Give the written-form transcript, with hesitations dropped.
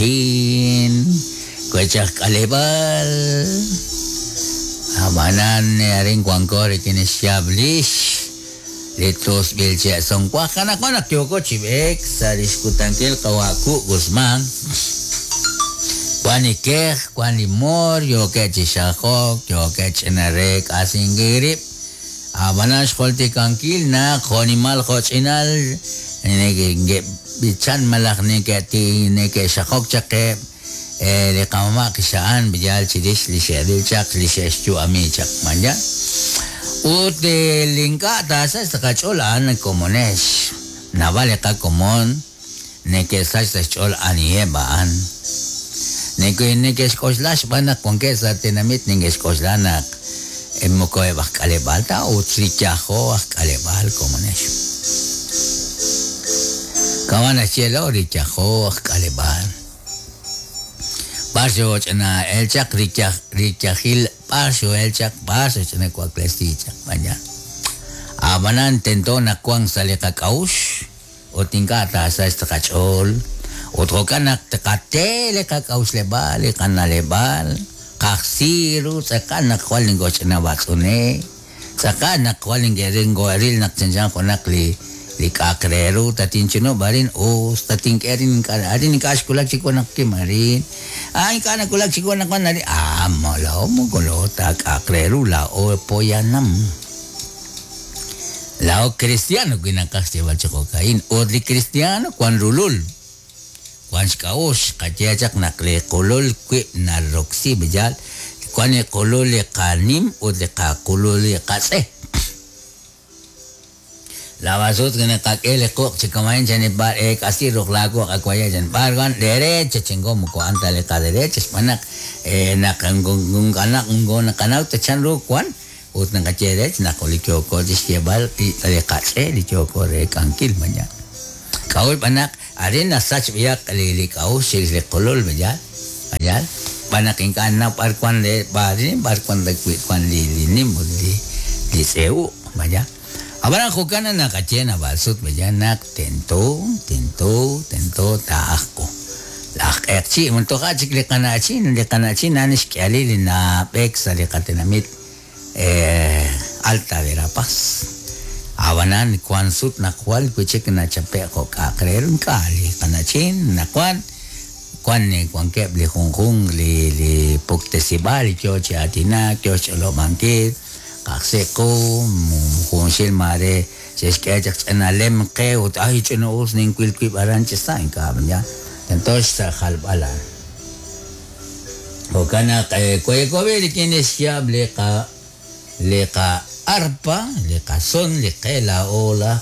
qana'chin, wech aj k'aleb'aal. Ab'anan arin wanko rik'in xyaab' lix li tusb'il che' sumwank. Anaqwan naq yooko chi b'eek sa' li xkutankil qawa' Ku' Guzmán, wan li kej, wan li moor, yookeb' chi xajok, yookeb' ch'ina reek'asinkil rib'. Ab'anan xjultikankil naq jo'nimal jo'ch'inal neke'b'ichan malaj neke'xajok chaq eb' li qamama' qixa'an yaal chirix li xe'ril chaq, li xe'xyu'ami chaq. Maya. Ut li ink'a' taasach sa' qach'ool a'an komonex. Naab'al li qakomon neke'sach sa' xch'ool aniheb' a'an. Neke'xk'oxla xb'aan naq wankeb' sa' tenamit neke'xk'oxla naq moko eb' aj k'aleb'aal ta ut riyajo aj k'aleb'aal komonex. Kama' naxye lo riyajo aj k'aleb'aal. B'ar xooch'ina el chaq riyajil b'ar xoo'el chaq b'ar xooch'ina waklesi chaq b'anya. Ab'anan tento naq wank sa' li qak'a'uxl ut ink'a' taasachq sa' qach'ool. Ut jo'kan naq tqate li qak'a'uxleb'aal, li qana'leb'aal, qajsi ru tz'aqal naq jwal nokooch'ina b'atz'une, tz'aqal naq jwal nokoo'ril naq chanchan junaq li li k'a'aq re ru tatinchunub' arin us tatink'e arin ink'a' arin ink'a' xwulak chiwu naq kim arin, ah ink'a' nawulak chiwu naq wan arin, ah laa'o moko laa'o ta k'a'aq re ru, laa'o poyanam. Laa'o kristiano wi naqaj xyeeb'al chi jo'ka'in, ut li kristiano wan rulul, wan xk'a'uxl, xqaye chaq naq li qulul wib' naroksi yaal, wan li qulul li qanim ut li qaqulul li qatz'e. Laab'al sut naqak'e li quq' chi kama'in chan b'ar eek'asi ruq laaquq' awaya chan b'ar wan derecha chingo moko a'an ta li qaderecha xb'aan naq naq naqanaw ta chan ru wan ut naqaye derecha naq li yooko chi xyeeb'al li qatz'e li yooko reek'ankil maña. K'a'ut b'an naq arin nasach b'ayaq li k'a'uxl chirix li qulul maña mañal xb'aan naq ink'a' nnaw b'ar wan b'ar wan wan li nim ut li tz'e uq' maña. Ab'anan jo'kan naq naqaye naab'al sut maña naq tento tento tento taa'ajqu. Laj q'eqchi' toja' chik li qana'chin li qana'chin a'an xk'ihalil li nab'eek sa' li qatenamit Alta Verapaz. Ab'anan wank sut naq jwal wi' chik nachape'k jo' k'a'aq re ru ink'a' li qana'chin nawank wan wankeb' li junjunq li li puktesib'aal li yo chi aatinak yo xch'olob'ankil qajsi qu junxil maare xe'xk'e chaq ch'ina lem qe ut ay ch'ina us ninwil wib' aran chi sa' ink'a' ya tento xjalb'al a'an. Jo'kan naq wayekobi rik'in li xyaab' li qa li qa arpa li qason li qe laa'o laj.